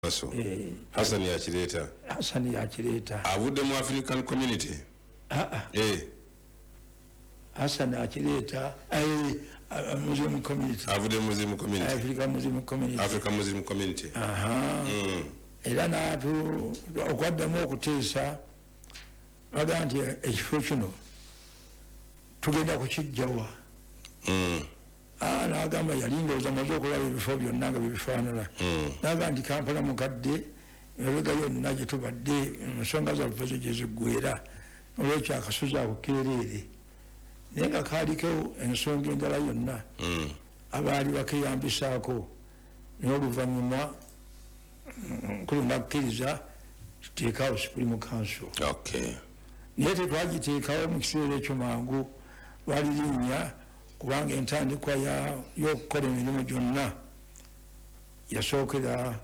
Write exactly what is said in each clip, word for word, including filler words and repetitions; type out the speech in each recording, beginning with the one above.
Council. Hassan yakireeta. Hassan yakireeta. Avudde mu African Community. Ah eh. Hassan akireeta eh Muslim Community. Avudde Muslim Community. African Muslim Community. African Muslim Community. Aha. Mm. Era n'atu okwaddamu okuteesa baga nti ekifo kino tugenda kukijjawa. Mm. Ah, n'agamba yali ndowooza maze okulaba ebifo byonna nga byebifaanana. N'agamba nti Kampala mukadde emabega yonna gye tubadde ensonga zaffe zo gye ziggwera, olwekyo akasozi ako keereere. Naye nga kaaliko ensonga endala yonna abaali bakeeyambisaako, naye oluvannyuma nkulu nakkiriza tuteekawo Supreme Council. Okay. Naye tetwagiteekawo mu kiseera ekyo mangu, lwali linnya kubanga entandikwa y'okukola emirimu gyonna yasookera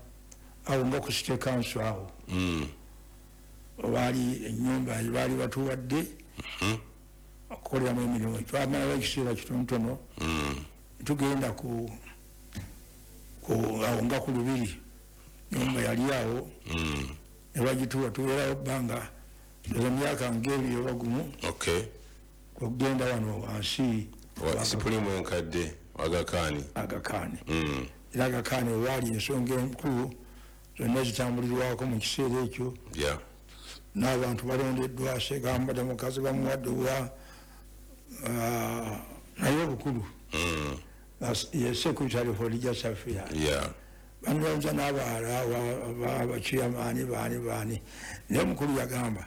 awo nga ku City Council awo. Baali ennyumba baali batuwadde okukoleramu emirimu. Twamalawo ekiseera kitonotono tugenda ku awo nga ku Lubiri, nyumba yali awo ne bagituwa, tubeerawo bbanga emyaka ng'ebiri oba gumu okugenda wano wansi Supreme enkadde Agakani. Agakani. Era Agakani waali ensonga enkulu zonna zitambulirwako mu kiseera ekyo. N'abantu balondeddwa, Segamba mukazi bamuwadde obwa naye obukulu ye Secretary for Religious Affairs. Banonza n'abalala abachiyamaani baani baani, naye omukulu yagamba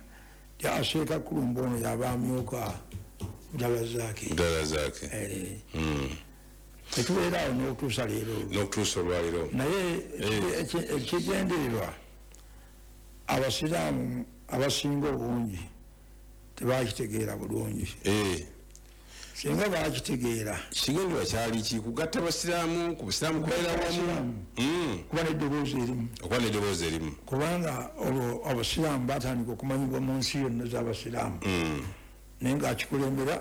nti aseeka Kulumba ono yaba amyuka Mutalazaake. Mutalazaake. Tetubeera awo n'okutuusa leero. N'okutuusa olwaleero. Naye ekigendererwa abasiraamu abasinga obungi tebakitegeera bulungi. Singa bakitegeera. Ekigendererwa kyali ki? Kugatta abasiraamu, ku busiraamu kubeera wamu. Kuba n'eddoboozi erimu. Okuba n'eddoboozi erimu. Kubanga olwo abasiraamu batandika okumanyibwa mu nsi yonna z'abasiraamu. Naye ng'akikulembera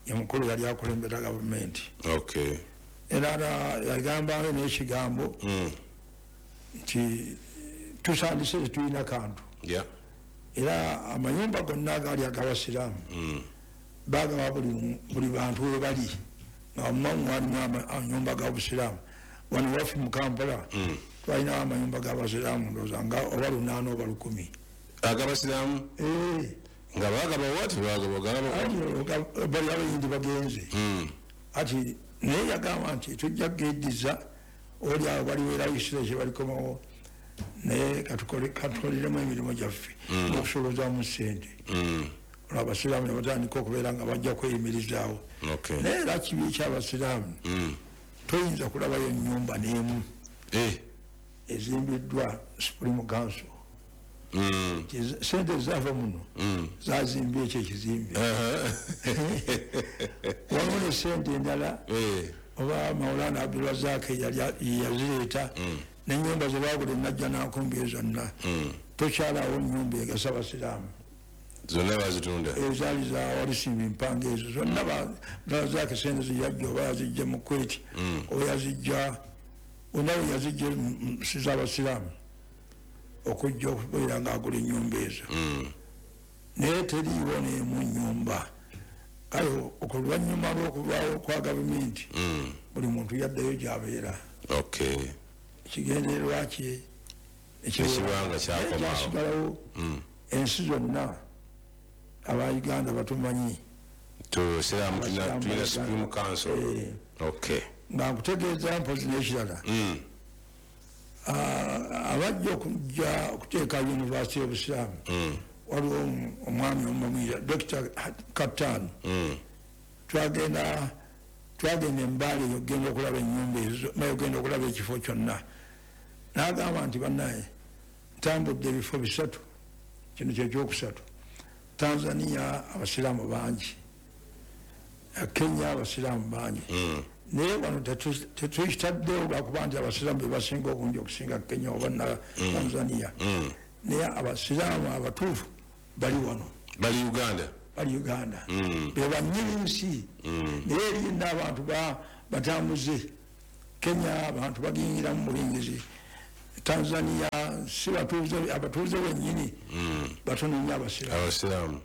ye mukulu yali akulembera gavumenti. Okay. Era yagambanga n'ekigambo nti tusandise tetulina kantu. Era amayumba gonna agaali ag'abasiraamu bagaba buli bantu we bali nga mumamu walimu amayumba g'abasiraamu. Wano waffe mu Kampala twalinawo amayumba g'abasiraamu ndowooza nga oba lunaana oba lukumi. Ag'abasiraamu? Ee. Nga bagaba wati bagaba bali abayindi bagenze. Ati naye yagamba nti tujja kugeddiza oli awo balibeerawo ekiseera kye balikomawo, naye katukoliremu emirimu gyaffe n'okusolozaamu ssente. Olwo abasiraamu ne batandika okubeera nga bajja kweyimirizaawo. Naye era kibi eky'abasiraamu toyinza kulabayo ennyumba n'emu ezimbiddwa Supreme Council. Sente zaava muno zazimbye ekyo ekizimbe. Waliwo ne sente endala oba Maulana Abdulrazak yazireeta n'ennyumba ze baagula enajja n'ankumbi zonna tokyalawo nnyumba egasa abasiraamu. Zonna bazitunda? Ezaali za walisimba empanga ezo zonna Abdulrazak sente zeyajja oba yazijja mu Kuwait oba yazijja wonna we yazijja si z'abasiraamu okujja okubeera ng'agula ennyumba ezo. Naye teriiwo n'emu nnyumba. Kale oluvannyuma lw'okuvaawo kwa gavumenti buli muntu yaddayo gy'abeera. Ekigendererwa kye ekibanga kyakomaawo. Ensi zonna aba Uganda batumanyi. Tusiraamu tulina Supreme Council. Nga nkutegeeza mpozi n'ekirala. Abajja okujja okuteeka yunivasite y'obusiraamu waliwo omwami omumwira Dokita Kapitaani. Twagenda twagenda embaale ogenda okulaba ennyumba ezo, naye ogenda okulaba ekifo kyonna. N'agamba nti bannaye ntambudde ebifo bisatu, kino kye kyokusatu. Tanzania abasiraamu bangi, Kenya abasiraamu bangi. Naye wano tetukitaddewo lwakuba nti abasiraamu be basinga obungi okusinga Kenya oba na Tanzania. Naye abasiraamu abatuufu bali wano. Bali Uganda? Bali Uganda. Be bannyini nsi. Naye erinda abantu batambuze. Kenya abantu bagiyingiramu mubuyingizi. Tanzania si batuuze abatuuze bennyini batono nnyo abasiraamu. Abasiraamu.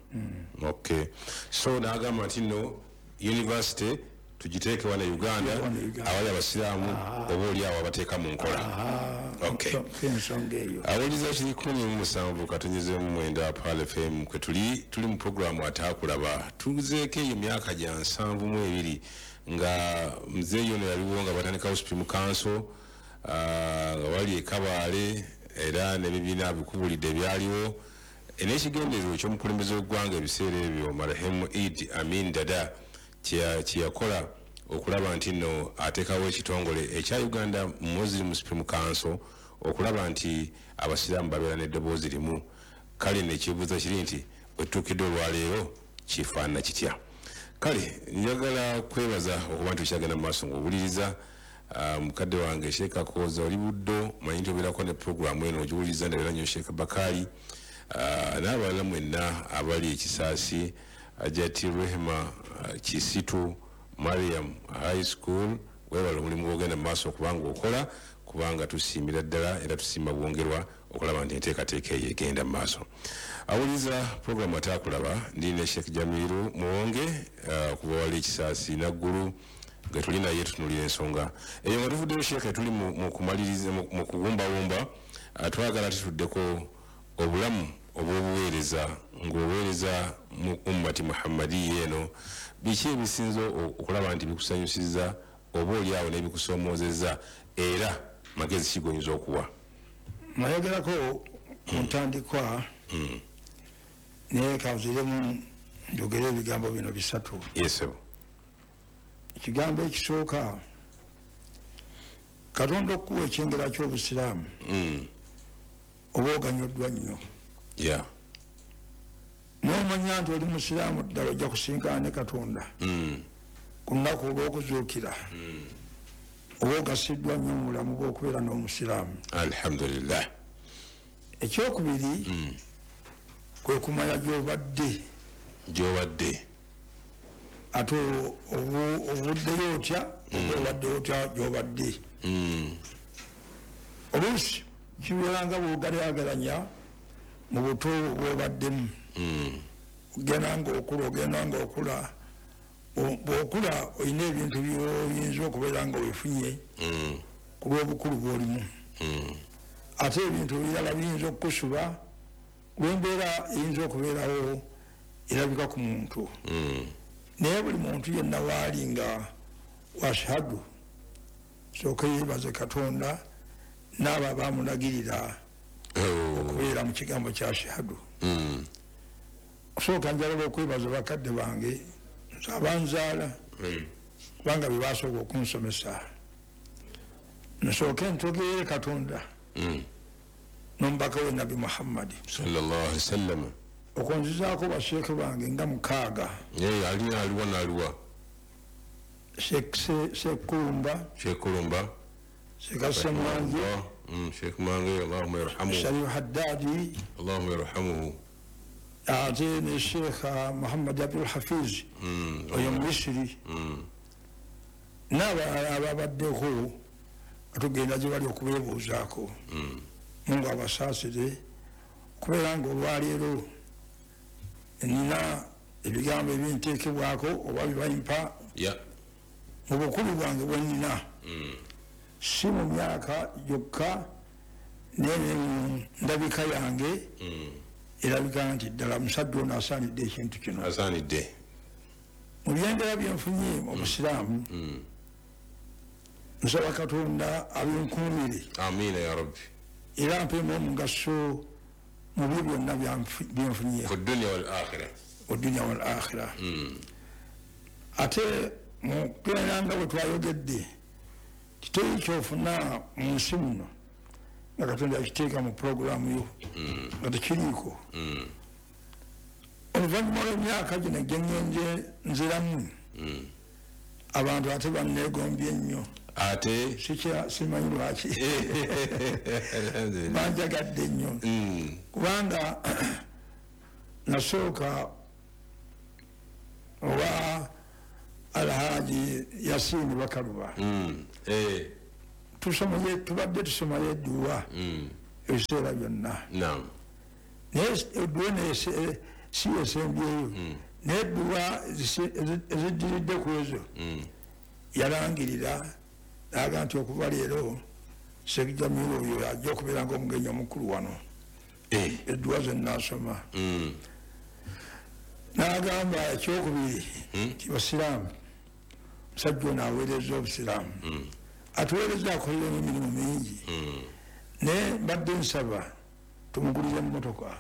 Okay, so n'agamba nti nno university tugiteeke wano e Uganda, awali abasiraamu oba oli awo abateeka mu nkola. Okay, ensonga eyo. Awuliza kiri kumi mu musanvu katonyezemu mwenda Pearl F M kwe tuli, tuli mu programu Ataakulaba. Tuzeeko eyo myaka gya nsanvu mu ebiri nga muzeeyi ono yaliwo nga batandikawo Supreme Council, nga wali e Kabaale, era n'ebibiina bikubulidde ebyaliwo n'ekigendererwa eky'omukulembeze w'eggwanga ebiseera ebyo marehemu Idi Amin Dada kye yakola okulaba nti nno ateekawo ekitongole ekya Uganda Muslim Supreme Council okulaba nti abasiraamu babeera n'eddoboozi limu. Kale n'ekibuuzo kiri nti wetutuukidde olwaleero kifaanana kitya? Kale njagala kwebaza okuba nti okyagenda mu maaso ng'owuliriza. Mukadde wange Sheikh Kakooza oli Buddo, manyi nti obeerako ne puroguramu eno ogiwuliriza, ndabeera nnyo Sheikh Bakali n'abalala mwenna abali ekisaasi, Ajati Rehema Kisitu Mariam High School, weebale omulimu gw'ogenda mu maaso okubanga okola, kubanga tusiimira ddala era tusiima bwongerwa okulaba nti enteekateeka eyo egenda mu maaso. Awuliza puroguramu Ataakulaba, ndi ne Sheikh Jamiru Muwonge okuva wali ekisaasi Naggulu nga tuli naye tutunuulira ensonga eyo. Nga tuvuddeyo Sheikh, tuli mu kumaliriza mu kuwumbawumba, twagala tutuddeko obulamu obw'obuweereza ng'oweereza mu ummati Muhammadiya eno, biki ebisinza okulaba nti bikusanyusizza oba oli awo n'ebikusoomoozezza, era magezi ki g'oyinza okuwa? Nayogerako ku ntandikwa, naye kanziremu njogere ebigambo bino bisatu. Yes, sir. Ekigambo ekisooka, Katonda okuwa ekyengera ky'obusiraamu oba oganyuddwa nnyo. Yeah. N'omanya nti oli musiraamu ddala ojja kusinkana ne Katonda ku lunaku olw'okuzuukira, oba ogasiddwa nnyo mu bulamu bw'okubeera n'omusiraamu. Alhamdulillah. Ekyokubiri kwe kumanya gy'obadde. Gy'obadde. Ate ovuddeyo otya, oba obadde otya gy'obadde. Oluusi kibeera nga bw'ogalyagalanya mu buto bw'obaddemu, ogenda ng'okula, ogenda ng'okula, bw'okula olina ebintu by'oyinza okubeera nga weefunye ku lw'obukulu bw'olimu, ate ebintu ebirala biyinza okukusuba lw'embeera eyinza okubeerawo erabika ku muntu. Naye buli muntu yenna waali nga washhadu, sooka yeebaze Katonda n'abo abamulagirira okubeera mu kigambo kya shahadu. Osooka njagala okwebaza bakadde bange nze abanzaala, kubanga be basooka okunsomesa. Nsooke ntogeere Katonda n'omubaka we Nabbi Muhammadi sallallahu alaihi wasallam, okunzizaako basheeke bange nga mukaaga. Aliwa aliwa n'aliwa? Sheikh Kulumba, Sheikh Kulumba, Sheikh Ssemwanje, Sheikh Mange, Allahumma yarhamuhu, Sharif Haddadi, Allahumma yarhamuhu, ate ne Sheikh Muhammad Abdul Hafiz oyo Misiri, n'abalala ababaddeko tugenda gye bali okubeebuuzaako. Mungu abasaasire okubeera ng'olwaleero nina ebigambo ebinteekebwako oba bibampa mu bukulu bwange bwe nnina, si mu myaka gyokka naye ne mu ndabika yange erabika nti ddala musajja ono asaanidde ekintu kino. Asaanidde. Mu byendera byenfunye mu busiraamu, nsaba Katonda abinkuumire. Amiina ya Rabbi. Era mpeemu omugaso mu byo byonna byenfunye ku dunya wal akhira. Ku dunya wal akhira. Ate mu kubeera nga bwe twayogedde, kiteri ky'ofuna mu nsi muno nga Katonda yakiteeka mu puroguramu yo nga tekiriiko. Oluvannyuma lw'emyaka gino gye ŋŋenze nziramu, abantu ate banneegombye nnyo. Ate simanyi lwaki banjagadde nnyo, kubanga nasooka owa Alhaji Yasini Bakaluba, Tusomaye tubadde tusomayo edduwa ebiseera byonna. Naye edduwa si esembyeyo, naye edduwa eziddiridde ku ezo yalangirira n'agamba nti okuva leero Sheikh Jamiru oyo ajja okubeera ng'omugenyi omukulu wano. Edduwa ze nnaasoma. N'agamba ekyokubiri nti basiraamu, omusajja ono aweereza obusiraamu, atuweereza akolera emirimu mingi, naye mbadde nsaba tumugulire emmotoka.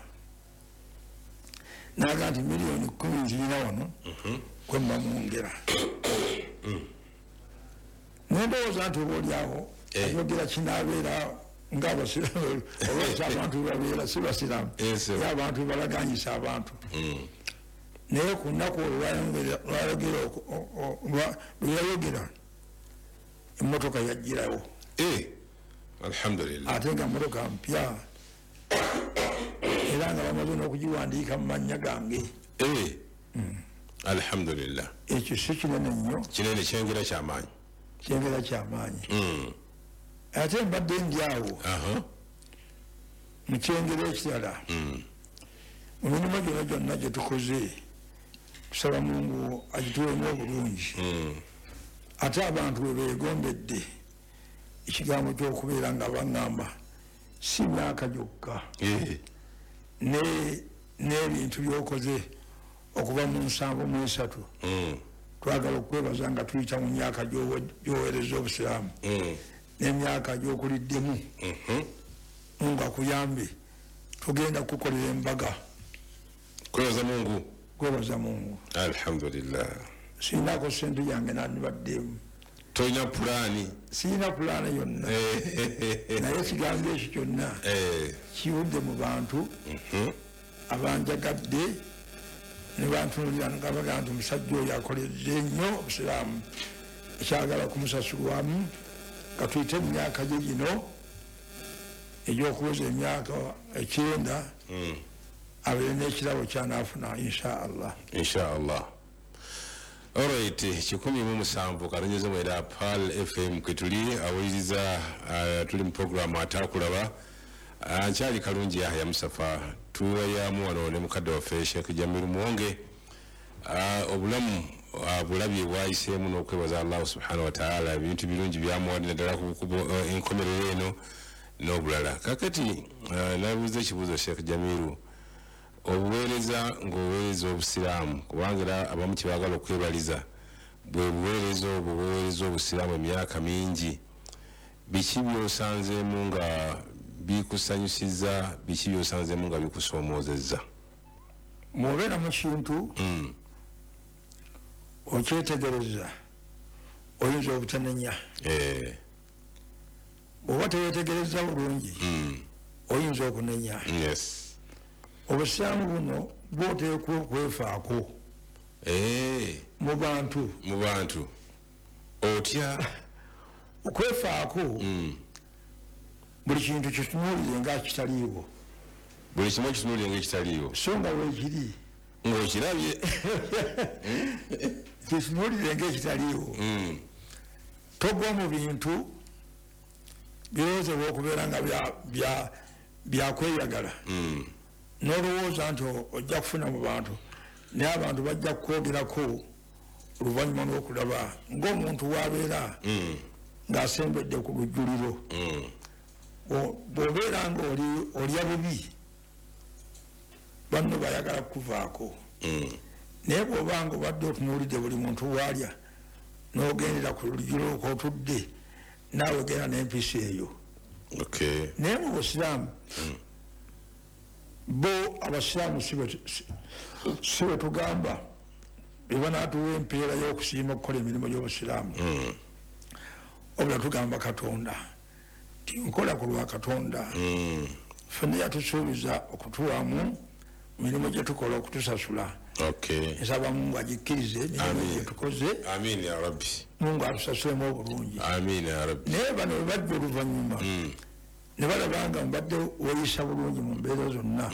N'agamba nti miliyoni kkumi nzirina wano kwe mba mwongera. Nendowooza nti oba oliawo ayogera kinaabeera ng'abasiraamu, olwaki abantu bebabeera si basiraamu, ye abantu bebalaganyisa abantu. Naye ku nnaku olwo lwe yayogera emmotoka yagirawo. Alhamdulillah. Ate nga mmotoka mpya era nga bamaze n'okugiwandiika mu mannya gange. Alhamdulillah. Ekyo si kinene nnyo. Kinene, kyengera kyamaanyi. Kyengera kyamaanyi. Ate mbadde ndi awo mu kyengera ekirala, mu mirimu gyonna gyonna gye tukoze tusaba Mungu agituwemu obulungi. Ate abantu bwe beegombedde ekigambo ky'okubeera nga baŋŋamba si myaka gyokka, n'ebintu by'okoze okuva mu nsanvu mu esatu, twagala okwebaza nga tuyita mu myaka gy'oweereza obusiraamu n'emyaka gy'okuliddemu. Mungu akuyambe, tugenda kukukolera embaga. Kwebaza Mungu. Kwebaza Mungu. Alhamdulillah. Sinaako ssente yange nandibaddemu. Tolina pulaani? Sirina pulaani yonna, naye ekigambo ekyo kyonna kivudde mu bantu abanjagadde ne bantunuulira nga bagamba nti omusajja oyo akoledde nnyo obusiraamu, ekyagala kumusasulwamu nga tuyite mu myaka gye gino egy'okuweza emyaka ekyenda, abeere n'ekirabo kyanaafuna insha Allah. Insha Allah. Alright, kikumi mu musanvu katonyeze mwenda Pearl F M kwetuli awuliriza, uh, tuli mu programu Ataakulaba. Uh, nkyali Kalungi Yahya Mustafa, tuwayamu wano ne mukadde waffe Sheikh Jamiru Muwonge. Uh, obulamu uh, bulabye bwayiseemu n'okwebaza Allah subhanahu wa ta'ala, ebintu birungi byamuwadde naddala ku uh, enkomerero eno n'obulala. Kakati uh, nabuuza ekibuuzo Sheikh Jamiru, obuweereza ng'oweereza obusiraamu, kubanga era abamu kyebaagala okwebaliza bwe buweereza obwo buweereza obusiraamu emyaka mingi, biki by'osanzeemu nga bikusanyusizza, biki by'osanzeemu nga bikusoomoozezza? Bw'obeera mu kintu okyetegereza oyinza obutanenya. Bw'oba teweetegereza bulungi oyinza okunenya. Obusiraamu buno bw'oteekwa okwefaako mu bantu. Mu bantu otya? Okwefaako buli kintu kitunuulire nga kitaliiwo. Buli kimu kitunuulire nga ekitaliiwo. So nga weekiri ng'okirabye. Kitunuulire nga ekitaliiwo. Togwa mu bintu birowoozebwa okubeera nga byakweyagala, n'olowooza nti ojja kufuna mu bantu, naye abantu bajja kukwogerako oluvannyuma n'okulaba ng'omuntu w'abeera ng'asembedde ku lujjuliro. Bw'obeera ng'olya bubi, banno bayagala kukuvaako. Naye bw'oba nga obadde otunuulidde buli muntu w'alya n'ogendera ku lujjuliro kw'otudde, naawe genda n'empisa eyo. Naye mu busiraamu bo abasiraamu si bwe tugamba be banaatuwa empeera y'okusiima okukola emirimu gy'obusiraamu, wabula tugamba Katonda nti nkola ku lwa Katonda. Ffenna yatusuubiza okutuwamu mirimu gye tukola okutusasula. Nsaba Mungu agikkirize emirimu gye tukoze. Amiina ya Rabbi. Mungu atusasulemu obulungi. Amiina ya Rabbi. Naye bano bwe bajja oluvannyuma ne balaba nga mbadde weeyisa bulungi mu mbeera zonna,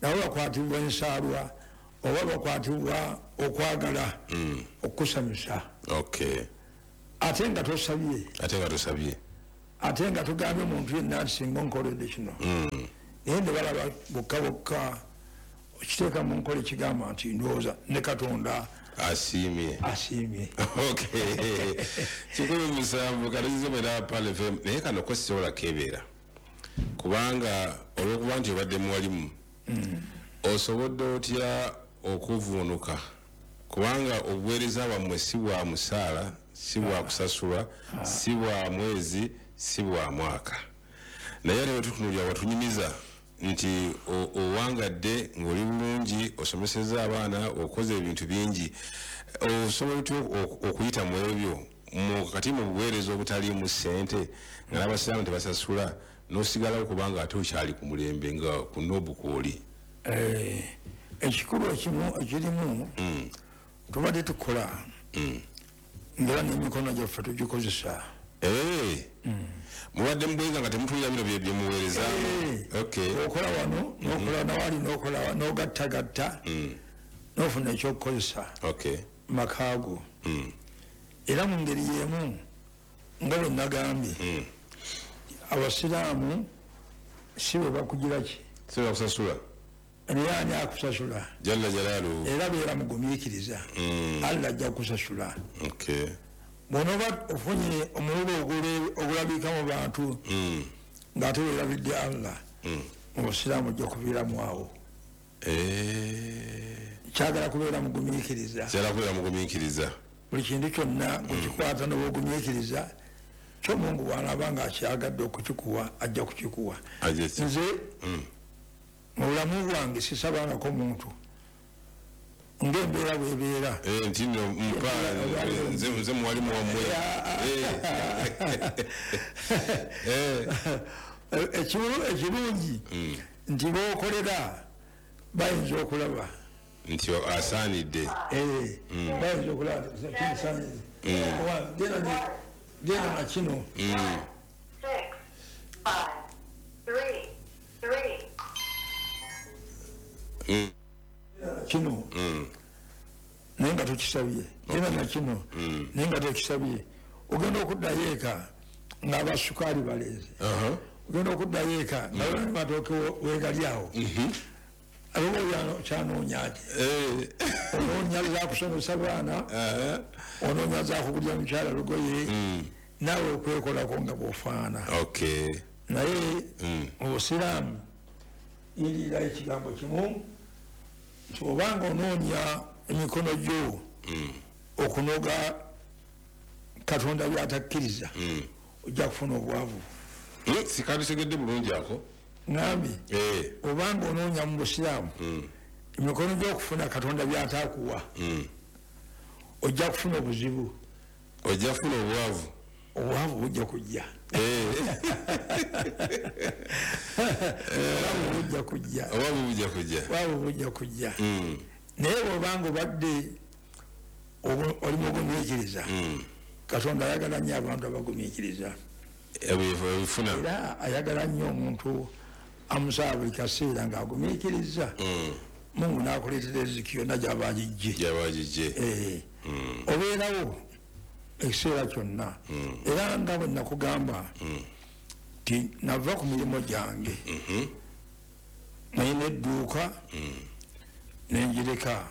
nabo bakwatibwa ensaalwa oba bakwatibwa okwagala okukusanyusa. Ate nga tosabye. Ate nga tosabye. Ate nga tugambye omuntu yenna nti singa onkoledde kino, naye ne balaba bokka bokka okiteeka mu nkola ekigamba nti ndowooza ne Katonda asiimye. Asiimye. Okay, kikumi musanvu katono mwenda Pearl F M. Naye kano ko sisobola kebeera, kubanga olwokuba nti obadde muwalimu, osobolodde otya okuvuunuka? Kubanga obuweereza bwammwe si bwa musaala, si bwa kusasulwa, si bwa mwezi, si bwa mwaka. Naye ate bwe watunyumiza nti owangadde ng'oli bulungi, osomeseza abaana, okoze ebintu bingi, osobola otya okuyita mu ebyo kati mu buweereza obutaliimu ssente, nga n'abasiraamu tebasasula, n'osigalawo kubanga ate okyali ku mulembe nga ku nobu kwoli? Eh, ekikulu ekimu ekirimu, mm. tubadde tukola mm. ngera n'emikono gyaffe tugikozesa. Eh. Mm. Mubadde mubweza nga temutulira bino bye byemuweereza. Eh. Okola wano, n'okola nawali, n'okola n'ogattagatta, n'ofuna ekyokukozesa makaago. Era mu ngeri y'emu nga bwe nagambye, abasiraamu si bwe bakugira ki? Si bwe bakusasula. Naye ani akusasula? Jalla jalaaluhu. Era beera mugumiikiriza, Allah ajja kukusasula. Bw'onooba ofunye omululu ogulabika mu bantu ng'ate weerabidde Allah, mu busiraamu ojja kuviiramu awo. Kyagala kubeera mugumiikiriza. Kyagala kubeera mugumiikiriza. Buli kintu kyonna kukikwata n'obugumiikiriza, kyo Mungu bw'anaaba ng'akyagadde okukikuwa ajja kukikuwa. Nze mu bulamu bwange sisabangako muntu ng'embeera bw'ebeera. Nti nno mpa nze muwalimu wammwe. Ekirungi nti b'okolera bayinza okulaba nti asaanidde. Bayinza okulaba kimusaanidde. Genda na kino. Kino naye nga tokisabye, genda na kino naye nga tokisabye. Ogenda okuddayo eka ng'abasukaali baleeze, ogenda okuddayo eka nga matooke weegali awo. Abo kyanoonya ki? Onoonya zakusomesa baana, onoonya zakugulya mukyala lugoye, naawe okwekolako nga bw'ofaana. Naye mu busiraamu yirira ekigambo kimu nti obanga onoonya emikono gyo okunoga Katonda by'atakkiriza, ojja kufuna obwavu. Sikabitegedde bulungi ako. Ngambye obanga onoonya mu busiraamu emikono gy'okufuna Katonda by'ataakuwa, ojja kufuna obuzibu. Ojja kufuna obwavu. Obwavu bujja kujja. Obwavu bujja kujja. Obwavu bujja kujja. Obwavu bujja kujja. Naye bw'obanga obadde oli mugumiikiriza, Katonda ayagala nnyo abantu abagumiikiriza. Era ayagala nnyo omuntu amusaba buli kaseera ng'agumiikiriza, Mungu n'akuleetera riziki yonna gy'aba agigye. Gy'aba agigye. Obeerawo ekiseera kyonna. Era nga bwe nakugamba nti nava ku mirimu gyange, nalina edduuka nenjireka,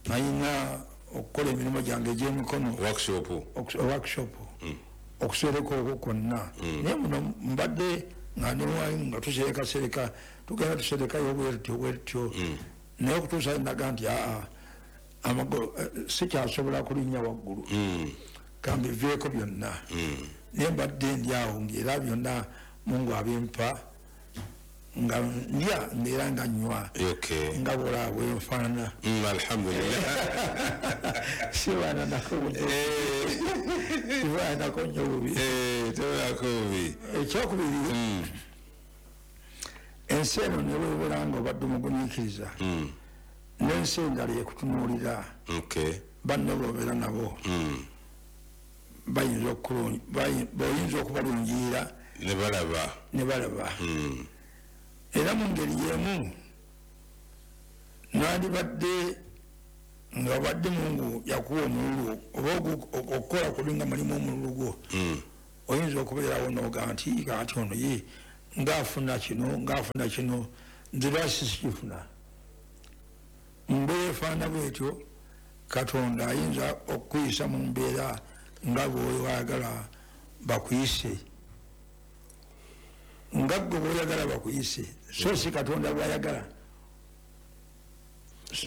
nalina okukola emirimu gyange egy'emikono, workshop, okusereka okwo kwonna. Naye muno mbadde nga ndi mwalimu nga tuserekasereka, tugenda tuserekayo bwe tutyo bwe tutyo, naye okutuusa naga nti aa sikyasobola kulinnya waggulu, kambiveeko byonna. Naye mbadde ndi awo ng'era byonna Mungu abimpa, nga ndya era nga nnywa, nga bw'olaba bwe nfaanana. Alhamdulillah. Sibaananako sibaananako nnyo bubi. Tobaako bubi. Ekyokubiri, ensi eno ne bw'obeera nga obadde omugumiikiriza, n'ensi endala ekutunuulira, banno b'obeera nabo bayinza okubalungirira ne balaba. Ne balaba. Era mu ngeri y'emu nandibadde nga obadde Mungu yakuwa omululu oba okukola kuli nga mulimu omululu gwo, Oyinza okubeerawo n'oga nti kati ono ye ng'afuna kino ng'afuna kino, nze lwaki sikifuna? Mbeera efaanana bwetyo, Katonda ayinza okukuyisa mu mbeera nga bw'oyagala bakuyise, nga ggwe bw'oyagala bakuyise, so si Katonda bw'ayagala.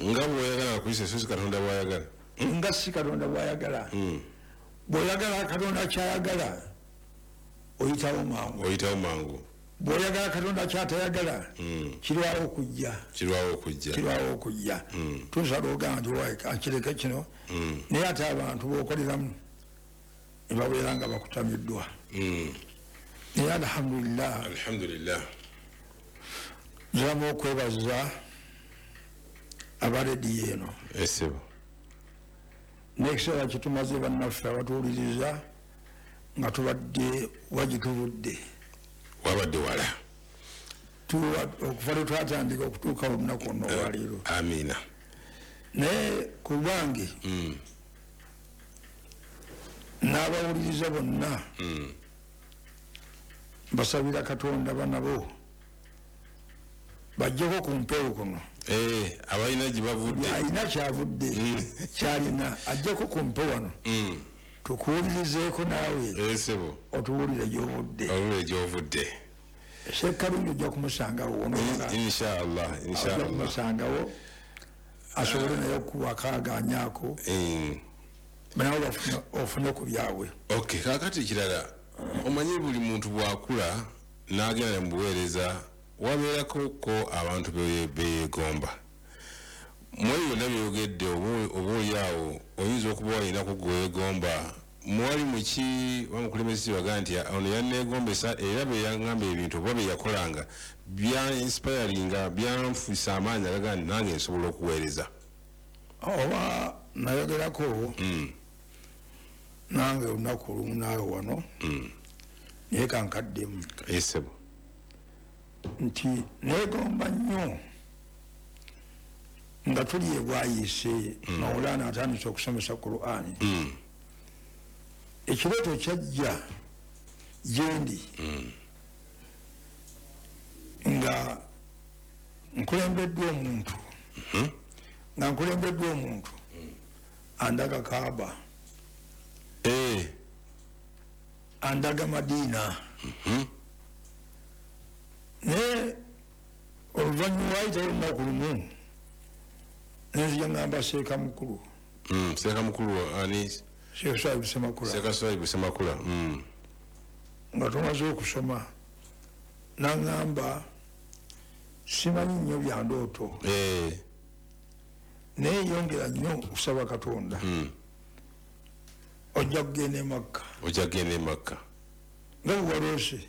Nga bw'oyagala bakuyise, so si Katonda bw'ayagala. Nga si Katonda bw'ayagala. Bw'oyagala Katonda ky'ayagala, oyitawo mangu. Oyitawo mangu. Bw'oyagala Katonda ky'atayagala, kirwawo okujja. Kirwawo okujja. Kirwawo okujja. Tusala ogamba nti owaye kankireke kino, naye ate abantu b'okoleramu ne babeera nga bakutamiddwa. Naye alhamdulillah. Alhamdulillah. Nziramu okwebaza aba rediyo eno. Esebo. N'ekiseera kye tumaze bannaffe abatuwuliriza nga tubadde wagituvudde. Wabadde wala. Okuva lwe twatandika okutuuka olunaku luno olwaleero. Amiina. Naye ku lwange n'abawuliriza bonna mbasabira Katonda banabo bajjeko ku mpewo kuno. Eh, abalina gye bavudde. Alina kyavudde, kyalina, ajjeko ku mpewo wano. Tukuwulirizeeko naawe. Esebo. Otuwulire gy'ovudde. Owulire gy'ovudde. Ssekkalungi ojja kumusangawo. Inshallah, inshallah. Ojja kumusangawo asobole naye okuwa akaagaanyaako. Nawe ofune ku byabwe. Okay, kaakati ekirala, omanyi buli muntu bw'akula n'agenda mu buweereza wabeerako ko abantu beyeegomba. Mu ebyo byonna by'oyogedde oba oli awo oyinza okuba walinako gwe weegomba. Mwali muki bamukulembeze baga nti ono yanneegombesa era bye yaŋŋamba ebintu oba bye yakolanga bya inspiringa, byanfuisa amaanyi agaga nti nange nsobola okuweereza. Oba nayogerako nange olunaku olumu naawe wano, naye kankaddemu. Esebo. Nti neegomba nnyo nga tuli e Bwayiise, Maulana atandise okusomesa Qur'ani. Ekirooto kyajja gye ndi nga nkulembeddwa omuntu, nga nkulembeddwa omuntu andaga Kaaba, andaga Madiina. Naye oluvannyuma waayitayo olunaku lumu nenzija ngamba Seeka Mukulu. Seeka Mukulu ani? Sheikh Swaibu Ssemakula. Seeka Swaibu Ssemakula. Nga tumaze okusoma n'aŋŋamba simanyi nnyo bya ndooto, naye yongera nnyo okusaba Katonda, ojja kugenda e Makka. Ojja kugenda e Makka. Nga bwe waloose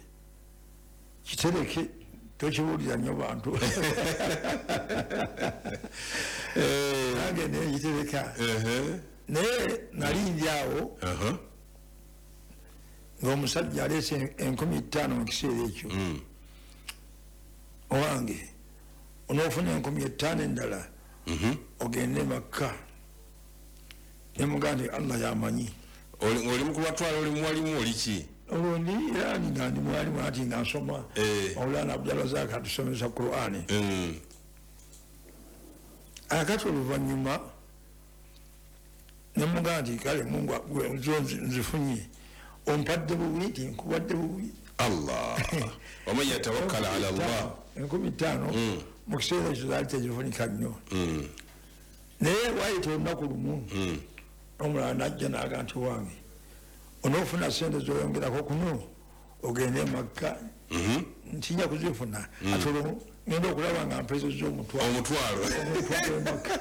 kitereke, tokibuulira nnyo bantu. Nange nekitereka. Naye nali ndi awo ng'omusajja aleese enkumi ttaano mu kiseera ekyo. Owange onoofuna enkumi ettaano endala ogende Makka. Ne mugamba nti Allah y'amanyi. Oli mu kubatwala, oli mwalimu oli ki? Olwo ndi era nga ndi mwalimu ati nga nsoma. Maulana Abdulrazak atusomesa Qur'ani. Akati oluvannyuma ne mugamba nti kale Mungu nzifunye, ompadde bubi nti nkuwadde bubi. Allah. Waman yatawakkala ala Allah. Enkumi ttaano mu kiseera ekyo zaali tezifunika nnyo. Naye waayita olunaku lumu omulala n'ajja n'agamba nti wange onoofuna ssente z'oyongerako kuno ogende e Makka, ntinya kuzifuna. Ate olwo ngenda okulaba nga mpezezza omutwalo. Omutwalo. Omutwalo e Makka.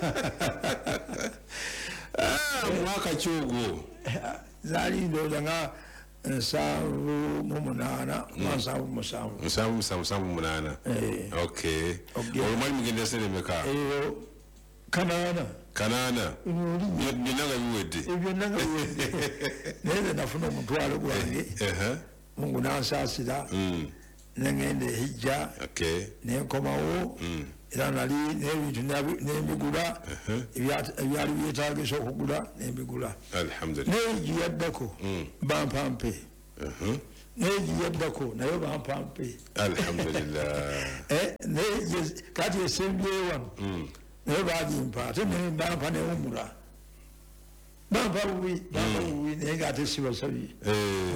Mwaka ki ogwo? Zaali ndowooza nga nsanvu mu munaana oba nsanvu mu musanvu. Nsanvu mu musanvu, nsanvu mu munaana. Okay. Olwo mwali mugenda ssente mmeka? Kanaana. Kanaana. Byonna nga biwedde. Byonna nga biwedde. Naye nze nafuna omutwalo gwange. Mungu n'ansaasira. Ne ŋŋenda e Hijja. Ne nkomawo. Era nali n'ebintu ne mbigula, ebyali byetaagisa okugula ne mbigula. Alhamdulillah. Naye Hijja yaddako bampampe. Naye giyaddako naye bampampe. Alhamdulillah. Naye kati esembyeyo wano naye bagimpa, ate bampa newumula, bampa bubi, bampa bubi, naye nga ate sibasabye.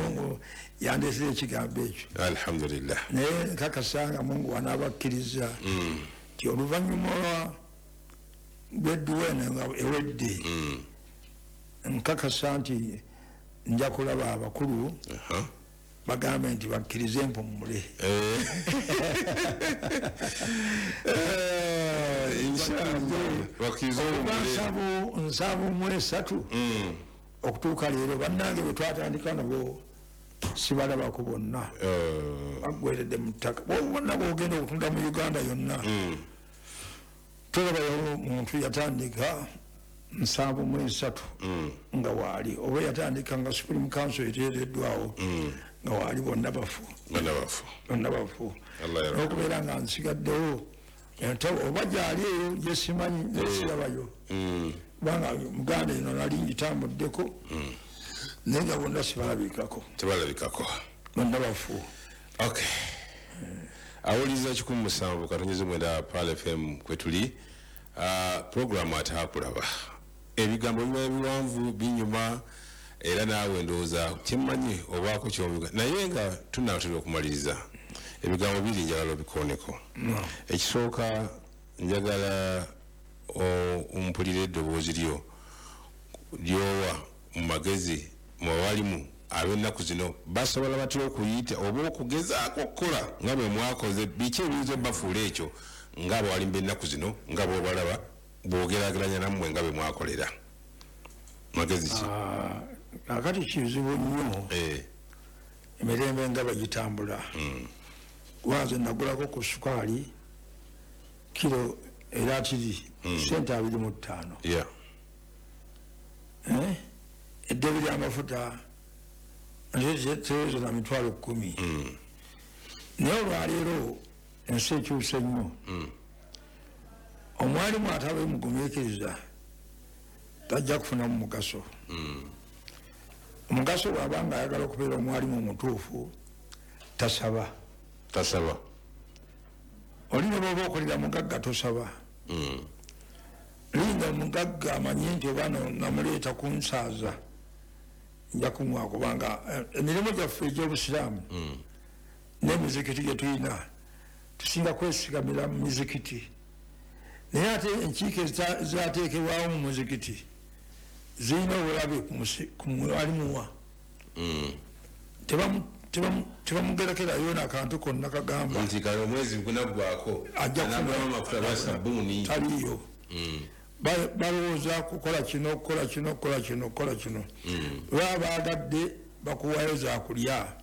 Mungu yandesera ekigambo ekyo. Alhamdulillah. Naye nkakasanga Mungu anaabakkiriza nti oluvannyuma lw'edduwa eno nga ewedde, nkakasa nti nja kulaba abakulu bagambe nti bakkirize mpumule. Nsanvu mu esatu okutuuka leero bannange bwe twatandika nabo sibalabako bonna, baggweredde mu ttaka. Bonna bw'ogenda okutunda mu Uganda yonna tolabayo muntu yatandika nsanvu mu esatu nga waali, oba yatandika nga Supreme Council eteereddwawo nga waali, bonna bafu, bonna bafu. N'okubeera nga nsigaddewo oba gyali eyo gyesimanyi nesirabayo, kubanga Muganda eno nali ngitambuddeko, naye nga bonna sibalabikako, tebalabikako, bonna bafu. Okay. Awuliza kikumi musanvu katonyeze mwenda Pearl F M kwetuli programu Ataakulaba. Ebigambo biba biwanvu binyuma, era naawe ndowooza kyemmanyi obaako ky'obiga, naye nga tunaatera okumaliriza ebigambo biri njagala obikooneko. Ekisooka njagala ompulire eddoboozi lyo lyowa mu magezi mu balimu ab'ennaku zino basobola batya okuyita oba okugezaako okukola nga bwe mwakoze, biki ebiyinza obbafuula ekyo nga abawalimu b'ennaku zino nga bw'obalaba bw'ogeraageranya nammwe nga bwe mwakolera. Magezi ki? Kaakati kizibu nnyo emirembe nga bagitambula. Kubanze nagulako ku sukaali kiro eratiri sente abiri mu ttaano. Eddebi ly'amafuta tereza na mitwalo kkumi. Naye olwaleero ensi ekyuse nnyo. Omwalimu atabe mugumiikiriza tajja kufunamu mugaso. Omugaso bw'aba nga ayagala okubeera omwalimu omutuufu tasaba. Tasaba. Oli ne bw'oba okolera mugagga tosaba. Linda omugagga amanye nti oba namuleeta kunsaaza nja kumuwa, kubanga emirimu gyaffe egy'obusiraamu n'emizikiti gye tulina tusinga kwesigamira mu mizikiti, naye ate enkiiko ezateekebwawo mu muzikiti zirina obulabe ku mwalimuwa. Tebamugerekerayo n'akantu konna kagamba nti kale omwezi gunaggwako anagulamu amafuta ba sabbuuni taliiyo. Balowooza kukola kino, kukola kino, kukola kino, kukola kino. Baba baagadde bakuwayo zakulya,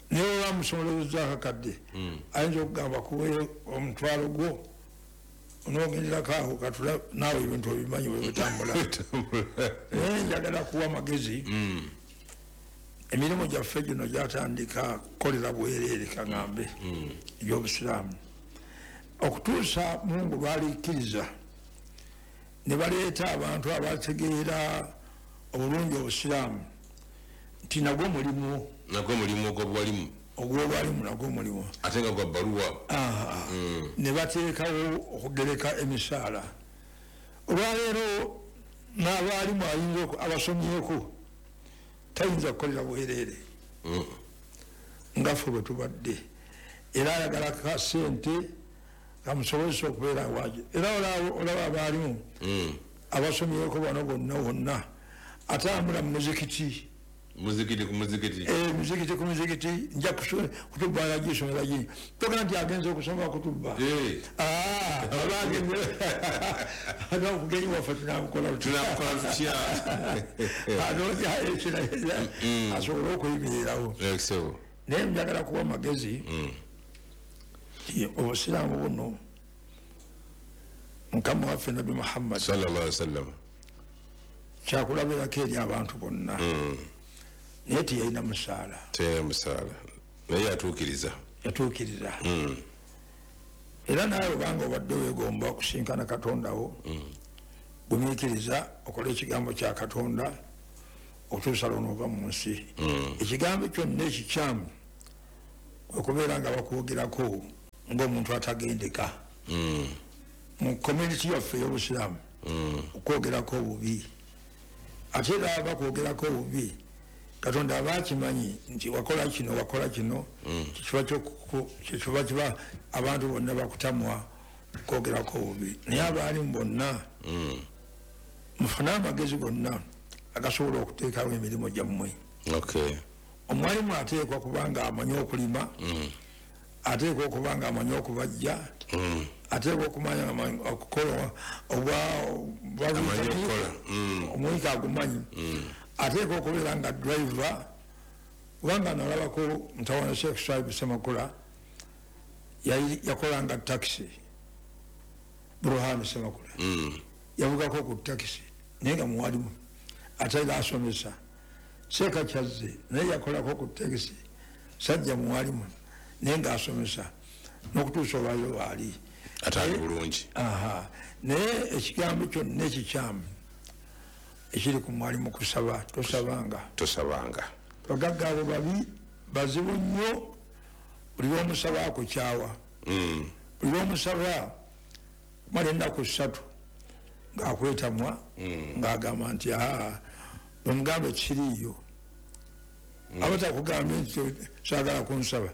naye oba musomolezza akakadde ayinza okugamba kuweyo omutwalo gwo onoogenderako awo katula naawe ebintu obimanyi bwe bitambula. Naye njagala kuwa magezi. Emirimu gyaffe gino gyatandika kukolera bwereere kaŋŋambe egy'obusiraamu okutuusa Mungu lwalikkiriza ne baleeta abantu abategeera obulungi obusiraamu nti nagwo mulimu, nagwo mulimu ogw'obwalimu, ogw'obwalimu nagwo mulimu ate nga gwa bbaluwa. Ne bateekawo okugereka emisaala. Olwaleero n'abaalimu ayinza abasomyeko tayinza kukolera bwereere nga ffe bwe tubadde, era ayagala ka ssente kamusobozesa okubeera waje. Era olaba abaalimu abasomyeko bano bonna wonna atambula mu muzikiti, muzikiti ku muzikiti, eh muzikiti ku muzikiti, nja kutuba yagisomera gini toka nti agenze okusoma kutuba. Ah, abagenze aga kugenyi waffe tunamukola tunamukola tutya anoonya ekirayira asobole okuyimirirawo. Naye njagala kuwa magezi obusiraamu buno Mukama waffe Nabbi Muhammad sallallahu alaihi wasallam kyakulabirako eri abantu bonna, naye teyalina musaala, teyalina musaala, naye yatuukiriza, yatuukiriza. Era naawe obanga obadde weegomba okusinkana Katonda wo, gumiikiriza okole ekigambo kya Katonda, Okutuusa lw'onoova mu nsi. Ekigambo kyonna ekikyamu okubeera nga bakwogerako ng'omuntu atagendeka. Mu community yaffe ey'obusiraamu okwogerako obubi, ate era bakwogerako obubi Katonda aba akimanyi nti wakola kino wakola kino, kyekiba kiba abantu bonna bakutamwa okwogerako obubi. Naye abaalimu bonna mufune amagezi gonna agasobola okuteekawo emirimu gyammwe. Omwalimu ateekwa kubanga amanyi okulima, ateekwa okuba nga amanyi okubajja, ateekwa okumanya okukola obwa omuyika agumanyi, ateekwa okubeera nga driver. Kubanga nalabako mutawana Sheikh Swaibu Ssemakula yakolanga takisi, Burhani Ssemakula yavugako ku takisi naye nga muwalimu ate era asomesa. Sheikh Kyazze naye yakolako ku takisi, sajja muwalimu naye nga asomesa n'okutuusa olwaliro waali ate ali bulungi. Naye ekigambo kyonna ekikyamu ekiri ku mwalimu kusaba, tosabanga tosabanga. Bagagga abo babi bazibu nnyo, buli lw'omusaba akukyawa, buli lw'omusaba kumala ennaku ssatu ng'akwetamwa, ng'agamba nti aa bwemugambe kiriiyo. Aba takugambye nti saagala kunsaba,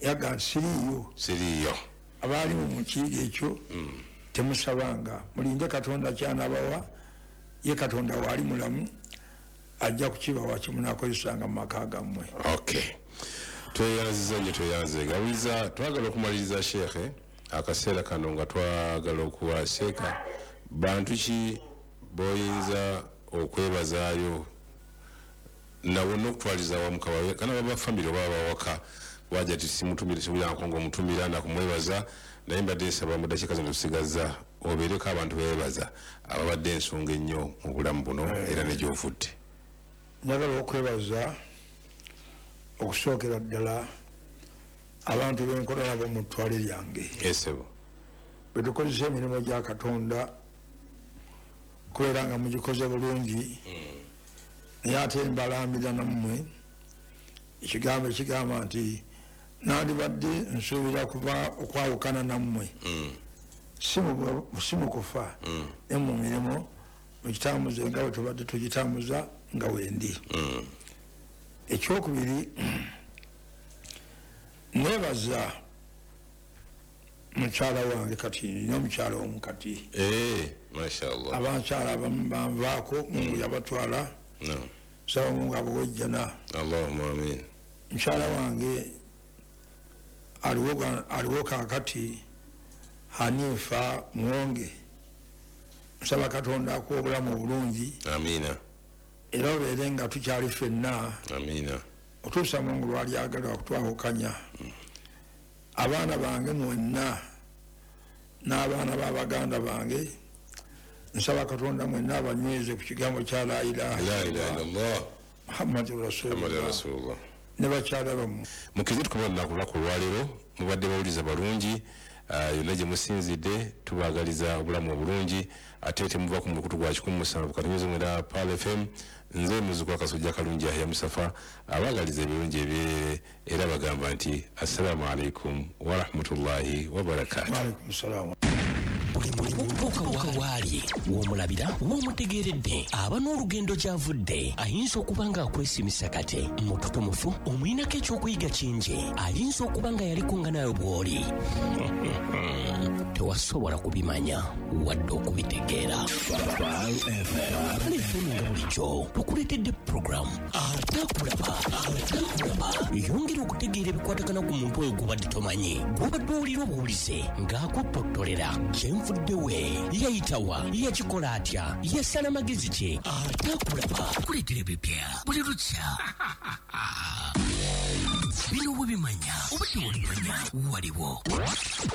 yagamba nti siriiyo siriiyo. Abaalimu mu kiyiga ekyo temusabanga, mulinde Katonda kyanabawa, ye Katonda waali mulamu ajja kukibawa kyemunaakozesanga mu maka gammwe. Okay, tweyanziza nnyo, tweyanze gawiza. Twagala okumaliriza Sheikh akaseera kano nga twagala okuwa seeka bantu ki boyinza okwebazaayo nabo n'okutwaliza awamu kana baba famire oba abawaka waja ti simutumire sibuyanko ng'omutumira nakumwebaza, naye mbadde nsaba mu ddakiika zino tusigazza obeereko abantu beebaza ababadde ensonga ennyo mu bulamu buno era ne gy'ovudde. Njagala okwebaza okusookera ddala abantu benkola nabo mu ttwale lyange. Esebo bwe tukozesa emirimu gya Katonda kubeera nga mugikoze bulungi, naye ate mbalambira nammwe ekigambo ekigamba nti nandibadde nsuubira kuba okwawukana nammwe si mu kufa, ne mu mirimu mugitambuze nga bwe tubadde tugitambuza nga wendi. Ekyokubiri, nebaza mukyala wange kati nina omukyala omu kati. Mashallah. Abakyala abamu banvaako, Mungu yabatwala, saba Mungu abuwejjana. Allahumma amin. Mukyala wange aliwo kaakati Hanifa Muwonge, nsaba Katonda akuwa obulamu obulungi. Amina. Era obeere nga tukyali ffenna. Amina. Otuusa Mungu lw'alyagala okutwawukanya. Abaana bange mwenna n'abaana b'abaganda bange nsaba Katonda mwenna abanyweze ku kigambo kya la ilaha illallah Muhammadun Rasulullah ne bakyala bammwe. Mukize tukoma olunaku lunaku olwaleero, mubadde bawuliza balungi yonna gye musinzidde, tubaagaliza obulamu obulungi ate temuva ku mukutu gwa kikumi musanvu katunyuze mwenda Pearl F M. Nze muzzukulu Kasujja Kalungi Yahya Musafa abaagaliza ebirungi ebyerere era bagamba nti assalamu alaikum warahmatullahi wabarakatuh. Wa alaikum salaam. Buli waali w'omulabira w'omutegeeredde aba n'olugendo gy'avudde ayinza okuba nga akwesimisa kate mututumufu omuyinako ekyokuyiga kingi ayinza okuba nga yaliko nga nayo bw'oli tewasobola kubimanya wadde okubitegeera. Pearl F M nga bulijjo tukuleetedde puroguramu Atakulaba Atakulaba yongera okutegeera ebikwatagana ku muntu oyo gw'obadde tomanyi gw'obadde owulira obuwulize ng'akutottolera kyenvudde we yayitawa yakikola atya yasala magezi ki Atakulaba kuleetera ebipya buli lukya. Bino webimanya oba tewabimanya waliwo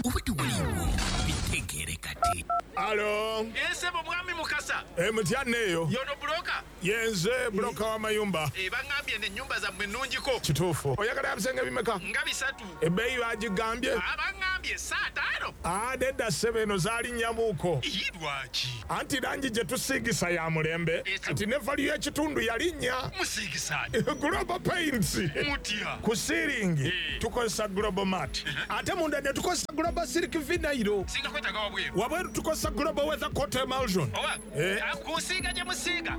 oba tewaliwo bitegeere kati. Alo. Esebo mwami Mukasa. Eh mutya neyo. Yono broka. Yenze broka wa mayumba. Eh bangambye ne nyumba zammwe nnungiko. Kituufu. Oyagala ebisenge bimeka? Nga bisatu. Ebbeeyi bagigambye. Abangambye Wagambye saatano. Ah, nedda ssebo, eno zaalinnyamuuko. Lwaki? Anti langi gye tusiigisa ya mulembe, kati ne value y'ekitundu yalinnya. Musiigisaani? Global Paints. Mutya? Ku ceiling tukozesa Global Mat, ate munda ne tukozesa Global Silk Vinyl. Singa kwetaaga wabweru? Wabweru tukozesa Global Weather Coat Emulsion. Oba kusiiga gye musiiga,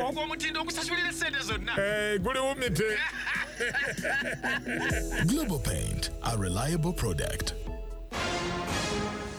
ogwo omutindo ogusasulira essente zonna. Guli wumite. Global Paint, a reliable product.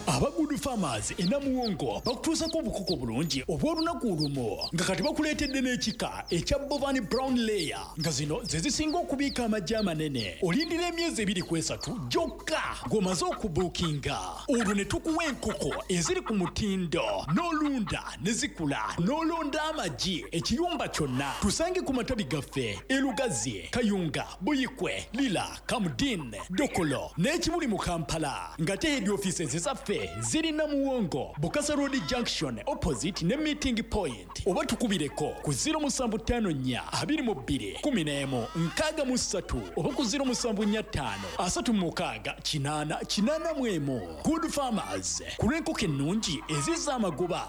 Aba Good Farmers e Namuwongo bakutuusako obukoko bulungi obw'olunaku olumu, nga kati bakuleetedde n'ekika ekya Bovan Brown Layer, nga zino ze zisinga okubiika amagi amanene. Olindira emyezi ebiri ku esatu gyokka ng'omaze okubuukinga, olwo ne tukuwa enkoko eziri ku mutindo, n'olunda ne zikula, n'olonda amagi ekiyumba kyonna. Tusange ku matabi gaffe e Lugazi, Kayunga, Buyikwe, Lira, Kamudin, Dokolo n'ekibuli mu Kampala, nga te head offices zaffe ziri Namuwongo, Bukasa Road Junction opposite ne Meeting Point, oba tukubireko ku zero musanvu ttaano nnya abiri mu bbiri kumi n'emu nkaaga mu ssatu oba ku zero musanvu nnya ttaano asatu mu mukaaga kinaana kinaana mu emu. Good Farmers, ku lw'enkoko ennungi ezizza amagoba.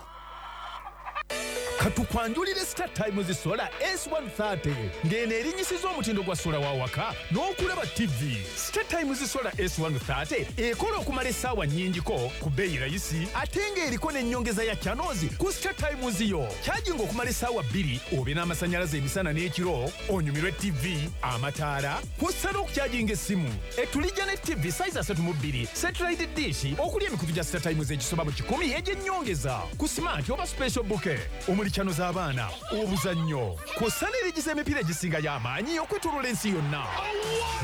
Katukwanjulire Star Times Solar S one thirty, ng'eno erinyisiza omutindo gwa sola wa waka n'okulaba T V. Star Times Solar S one thirty ekola okumala essaawa nnyingiko ku bbeeyi rayisi, ate ng'eriko n'ennyongeza ya channels ku Star Times yo. Kyajinga okumala essaawa bbiri obe n'amasannyalaze emisana n'ekiro, onyumirwe T V, amataala, kw'ossa n'okukyajinga essimu. Etulijja ne T V size asatu mu bbiri, satellite dish okuli emikutu gya Star Times egisoba mu kikumi egy'ennyongeza ku smart oba special bouquet omuli channel z'abaana, obuzannyo, kw'ossa n'erigiza emipiira egisinga y'amaanyi okwetooloola ensi yonna.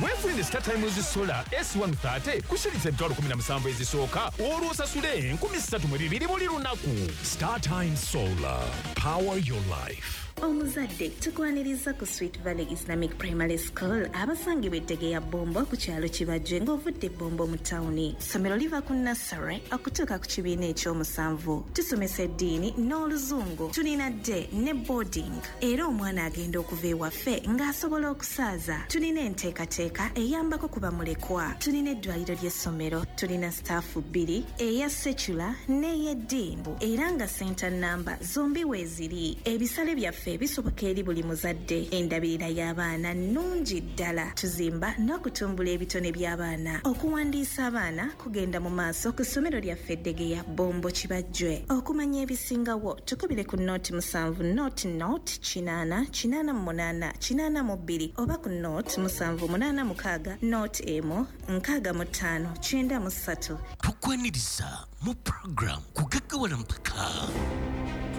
Weefunire Star Times Solar S one thirty ku shilingi emitwalo kumi na musanvu ezisooka, olwo osasule enkumi ssatu mu bibiri buli lunaku. Star Times Solar. Power your life. Omuzadde, tukwaniriza ku Sweet Valley Islamic Primary School abasangibwa ettege ya Bombo ku kyalo Kibajje ng'ovudde Bombo mu tawuni. Ssomero liva ku nursery okutuuka ku kibiina ekyomusanvu. Tusomesa eddiini n'Oluzungu. Tulina day ne boarding, era omwana agenda okuva ewaffe ng'asobola okusaaza. Tulina enteekateeka eyambako ku bamulekwa. Tulina eddwaliro ly'essomero. Tulina staff bbiri, eya secular n'ey'eddiini, era nga center namba zombi weeziri. Ebisale byaffe bisoboka eri buli muzadde. Endabirira y'abaana nnungi ddala. Tuzimba n'okutumbula ebitone by'abaana. Okuwandiisa abaana kugenda mu maaso ku ssomero lyaffe Eddegeya, Bombo, Kibajjwe. Okumanya ebisingawo tukubire ku nought musanvu nought nought kinaana kinaana mu munaana kinaana mu bbiri oba ku nought musanvu munaana mukaaga nought emu nkaaga mu ttaano kyenda mu ssatu. Tukwaniriza mu program Kugaggawala Mpaka.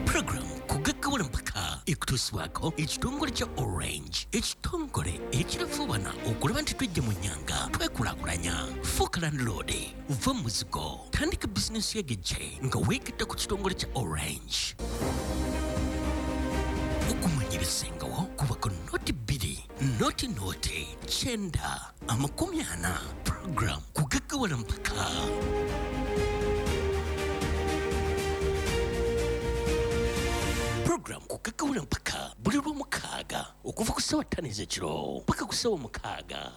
Program Kugaggawala Mpaka ekutuusibwako ekitongole kya Orange, ekitongole ekirafuubana okulaba nti twejja mu nnyanga twekulaakulanya. Fuuka landlord, va mu muzigo, tandika bizinesi yegejje nga weegatta ku kitongole kya Orange. Okumanya ebisingawo kuba ku nought bbiri nought nought kyenda amakumi ana. Program Kugaggawala Mpaka. Program Kugaggawala Mpaka buli lwomukaaga okuva ku ssaawa ttaano ez'ekiro paka ku ssaawa mukaaga.